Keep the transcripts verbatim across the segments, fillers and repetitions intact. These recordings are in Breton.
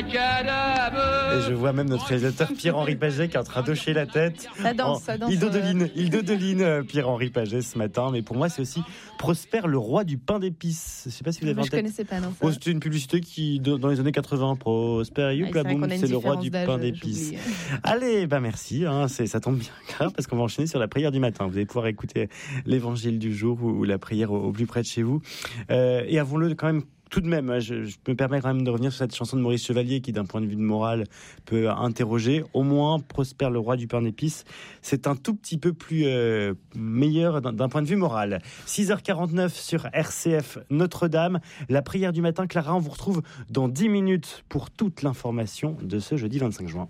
Et je vois même notre réalisateur Pierre-Henri Paget qui est en train d'hocher la tête. Ça danse, ça danse. Il dodeline, il dodeline euh, Pierre-Henri Paget ce matin. Mais pour moi, c'est aussi Prosper, le roi du pain d'épices. Je sais pas si vous avez Moi, en je tête. connaissais pas, non. ça. Oh, c'était une publicité qui, dans les années quatre-vingts, Prosper, Ah, youpla c'est vrai boum, qu'on a une c'est le roi différence du d'âge, pain d'épices. j'oublie. Allez, bah merci, hein, c'est, ça tombe bien grave parce qu'on va enchaîner sur la prière du matin. Vous allez pouvoir écouter l'évangile du jour ou, ou la prière au, au plus près de chez vous. Euh, et avons-le quand même tout de même, hein, je, je me permets quand même de revenir sur cette chanson de Maurice Chevalier qui, d'un point de vue de morale, peut interroger. Au moins, Prosper, le roi du pain d'épices, c'est un tout petit peu plus euh, meilleur d'un, d'un point de vue moral. six heures quarante-neuf sur R C F Notre-Dame. La prière du matin, Clara, on vous retrouve dans dix minutes pour toute l'information de ce jeudi vingt-cinq juin.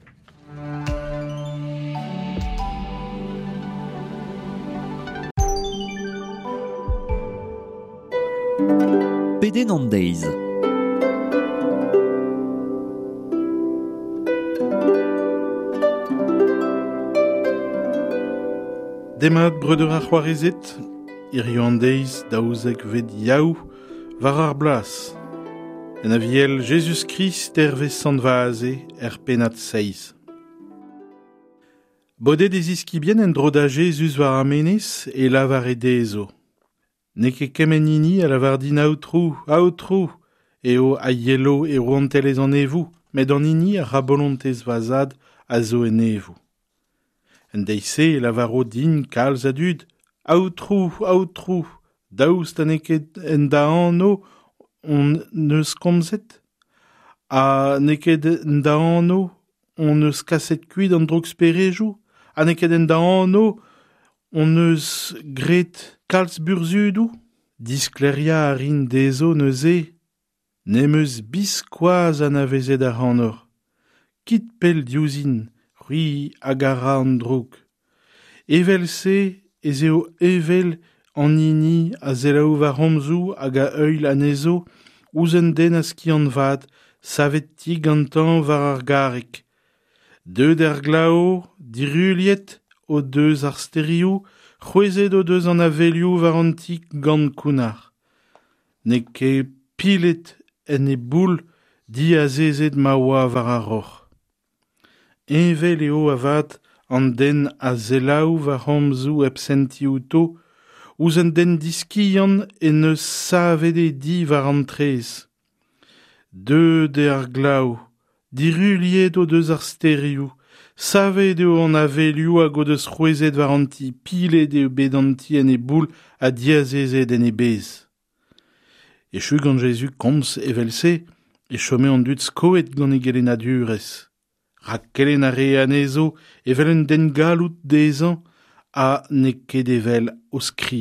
Pedenn an deiz. Demat breudeur ar c'hoarezed, hirio an deiz daouzek vet yaou war ar blas. En aviel Jezuz-Krist hervez Sant Vaze er pennad seiz. Bodet e ziskibien en dro da Jezuz war ar menez e lavar e dezo. N'eo ket kement hini a lavar din aotrou, aotrou, eo a yelo e rouantelez an evou, met an hini a ra bolontez va zad a zo en evou. En deiz-se e lavaro din kalz a dud, aotrou, aotrou, daoust ha n'eo ket en da anv on eus komzet? Ha n'eo ket en da anv on eus kaset kuit an droug-sperejou? Ha n'eo ket en da anv on eus graet kalz burzhudoù? Diskleria a rin dezho neuze, n'em eus biskoazh anavezet ac'hanoc'h. Kit pell diouzhin, c'hwi hag a ra an droug. Evel-se ez eo evel an hini a selaou war c'homzoù hag a heuil anezho ouzh un den a skiant vat, savet ti gantañ war ar garreg. Deuet er glav, diruilhet o deus ar sterioù, c'hwezhet o deus an avelioù war an ti gant kounnar. N'eo ket pilet en e boull diazezet ma oa war ar roc'h. Heñvel eo avat an den a selaou war c'homzoù hep sentiñ outo, ouzh un den diskiant en deus savet e di war an traezh. Deuet eo ar glav, diruilhet o deus ar sterioù, savet eo an avelioù hag o deus c'hwezhet war an ti, pilet eo bet an ti en e boull ha diazezet en e bezh. Echu gant Jezuz komz evel-se, e chome an dud skoet gant e gelennadurezh. Rak kelenn a re anezho evel un den galloud dezhañ ha n'eo ket evel o skriv.